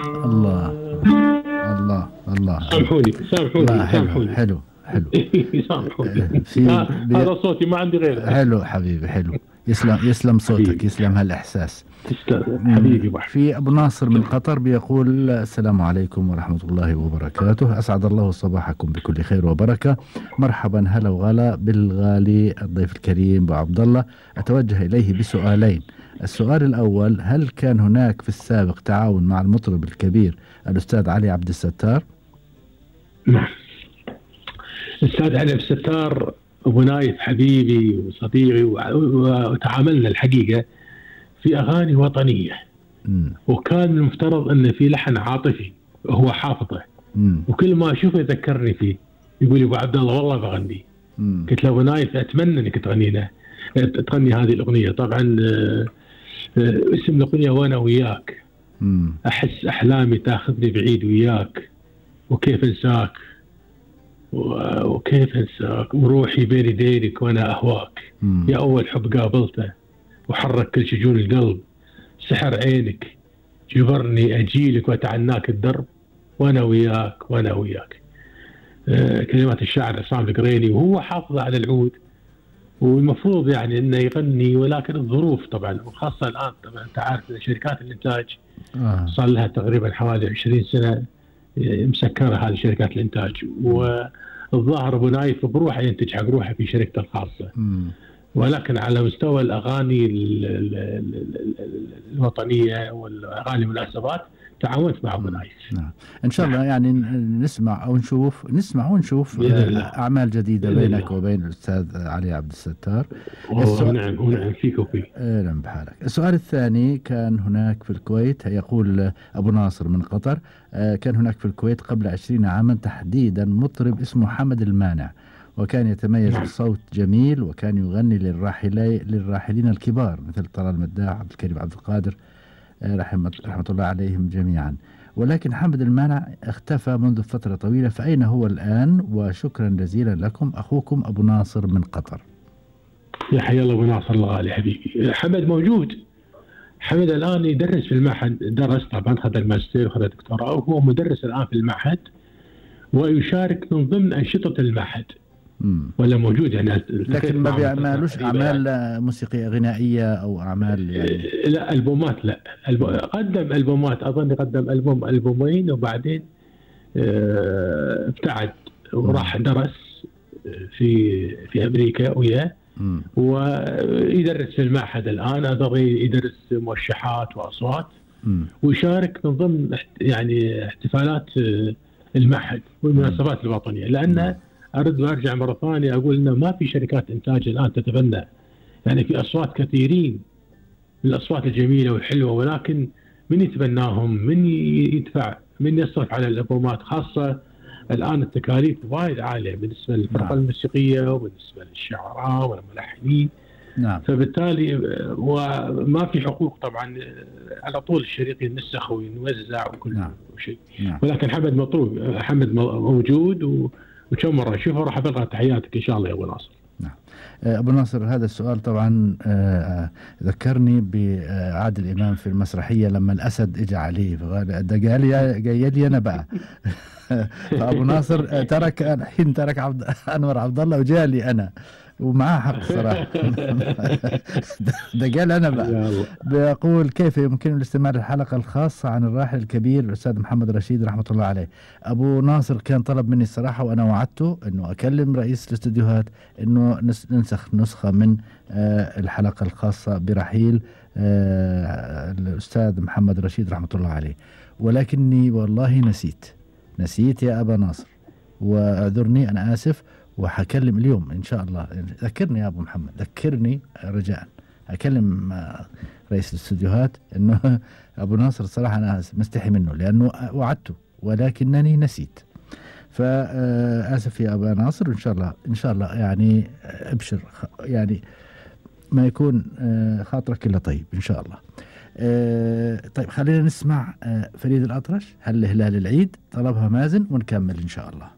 الله الله الله الله. سامحوني سامحوني لا، حلو سامحوني. حلو حلو. سامحوني. في هذا صوتي ما عندي غيره. حلو حبيبي، حلو. يسلم صوتك، حبيبي. يسلم هالإحساس. تسلم حبيبي بحر. في أبو ناصر من قطر بيقول: السلام عليكم ورحمة الله وبركاته، أسعد الله صباحكم بكل خير وبركة. مرحبا، هلا وغلا بالغالي الضيف الكريم أبو عبد الله. أتوجه إليه بسؤالين. السؤال الأول: هل كان هناك في السابق تعاون مع المطرب الكبير الأستاذ علي عبد الستار؟ نعم. الأستاذ علي عبد الستار أبو نايف حبيبي وصديقي، وتعاملنا الحقيقة في أغاني وطنية. وكان المفترض أن في لحن عاطفي هو حافظه. وكل ما أشوفه يذكرني فيه، يقول لي أبو عبد الله والله بغني. قلت له أبو نايف أتمنى أنك تغني هذه الأغنية. طبعا اسم الأغنية وأنا وياك. أحس أحلامي تاخذني بعيد وياك، وكيف أنساك وكيف أنساك، وروحي بين يديك وأنا أهواك. يا أول حب قابلته وحرك كل شجون القلب، سحر عينك جبرني أجيلك وأتعناك الدرب، وأنا وياك وأنا وياك. كلمات الشاعر عصام القريني، وهو حافظ على العود، والمفروض يعني انه يغني، ولكن الظروف طبعا، وخاصه الان طبعا انت عارف ان شركات الانتاج صار لها تقريبا حوالي 20 سنه مسكره هذه شركات الانتاج، والظاهر ابو نايف بروحه ينتج حق روحه في شركته الخاصه. ولكن على مستوى الاغاني الوطنيه والاغاني المناسبات تعاونت مع ابو نايف. نعم. ان شاء الله يعني نسمع ونشوف اعمال جديده بينك وبين الاستاذ علي عبد الستار. نعم فيك وفيك. نعم بحالك. السؤال الثاني: كان هناك في الكويت، يقول ابو ناصر من قطر، كان هناك في الكويت قبل 20 عاما تحديدا مطرب اسمه حمد المانع، وكان يتميز بصوت جميل، وكان يغني للراحلين الكبار مثل طلال المداح، عبد الكريم عبد القادر، رحمة الله عليهم جميعا. ولكن حمد المانع اختفى منذ فترة طويلة، فأين هو الآن؟ وشكرا جزيلا لكم، أخوكم أبو ناصر من قطر. يا حي الله أبو ناصر، الله علي حبيبي. حمد موجود. حمد الآن يدرس في المعهد، درس طبعا، خذ الماجستير وخذ الدكتوراه، وهو مدرس الآن في المعهد، ويشارك من ضمن أنشطة المعهد. ولا موجود يعني، لكن ما بيعملوش أعمال موسيقية غنائية أو أعمال يعني؟ لا ألبومات، لا قدم ألبومات، أظن قدم ألبومين، وبعدين ابتعد وراح درس في أمريكا وياه، ويدرس في المعهد الآن، أظن يدرس موشحات وأصوات، ويشارك من ضمن يعني احتفالات المعهد والمناسبات الوطنية. لأن أرد وأرجع مرة ثانية أقول إنه ما في شركات إنتاج الآن تتبنى، يعني في أصوات كثيرين من الأصوات الجميلة والحلوة، ولكن من يتبناهم؟ من يدفع؟ من يصرف على الألبومات؟ خاصة الآن التكاليف وايد عالية بالنسبة للفرقة الموسيقية وبالنسبة للشعراء والملحنين. نعم. فبالتالي وما في حقوق طبعا، على طول الشريط ينسخ وينوزع وكل شيء. نعم. ولكن حمد موجود، وكم مرة أشوفه راح أبلغ تحياتك إن شاء الله يا أبو ناصر. نعم. أبو ناصر، هذا السؤال طبعا ذكرني بعادل إمام في المسرحية لما الأسد إجا عليه، ده جاي لي أنا بقى. فأبو ناصر ترك أنور عبد الله وجاء لي أنا، ومعاه حق صراحة. ده قال أنا بقى بيقول: كيف يمكن الاستماع للحلقة الخاصة عن الراحل الكبير الأستاذ محمد رشيد رحمة الله عليه؟ أبو ناصر كان طلب مني الصراحة، وأنا وعدته أنه أكلم رئيس الاستديوهات أنه ننسخ نسخة من الحلقة الخاصة برحيل الأستاذ محمد رشيد رحمة الله عليه، ولكني والله نسيت يا أبا ناصر، واعذرني، أنا آسف، وحكلم اليوم إن شاء الله. ذكرني يا أبو محمد، ذكرني رجاء، أكلم رئيس الاستديوهات إنه أبو ناصر الصراحة أنا مستحي منه لأنه وعدته ولكنني نسيت. فآسف يا أبا ناصر، إن شاء الله يعني أبشر، يعني ما يكون خاطرك إلا طيب إن شاء الله. طيب خلينا نسمع فريد الأطرش، هل هلال العيد، طلبها مازن، ونكمل إن شاء الله.